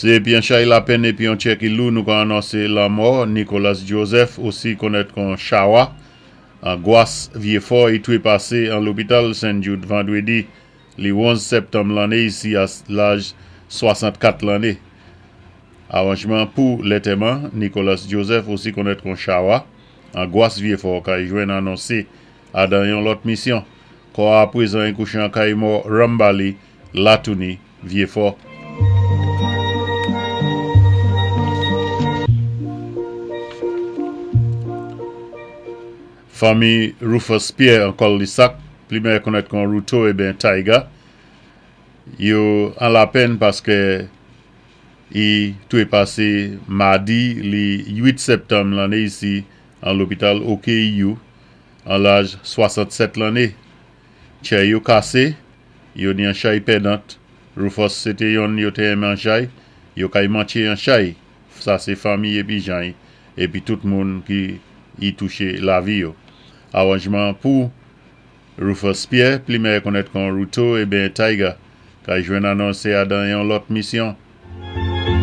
Sé épi an chay lapenn épi an tjè ki lou nou ka anonsé lanmò Nicolas Joseph, osi konnèt kon Chawa, an Gwas Vyéfò. I twépasé an lopital Sen Jude vandwédi li 11 sèptanm lanné isi a laj 64 lanné. Awanjman pou lantèman Nicolas Joseph, osi konnèt kon Chawa, an Gwas Vyéfò kay jwenn anonsé adan yon lòt misyon. Kò a apwézan i kouché an kay mò Rambali Latouni Vyéfò. Fanmi Rufus Pierre an Kòldisak, pli mèyè konnèt kon Ruto eben Taiga, yo an lapenn paskè i twépasé madi li 8 sèptanm lanné isi an lopital OKEU an laj 67 lanné. Tjè yo kasé, yo ni an chay pèdant. Rufus sé té yonn yo té enmen an chay, yo kay mantjé an chay. Sa sé fanmi épi jan-y épi tout moun ki i touché lavi yo. Awanjman pou Rufus Pierre, pli mèyè konnèt kon Ruto eben Taiga, kay jwenn anonsé adan yon lòt misyon.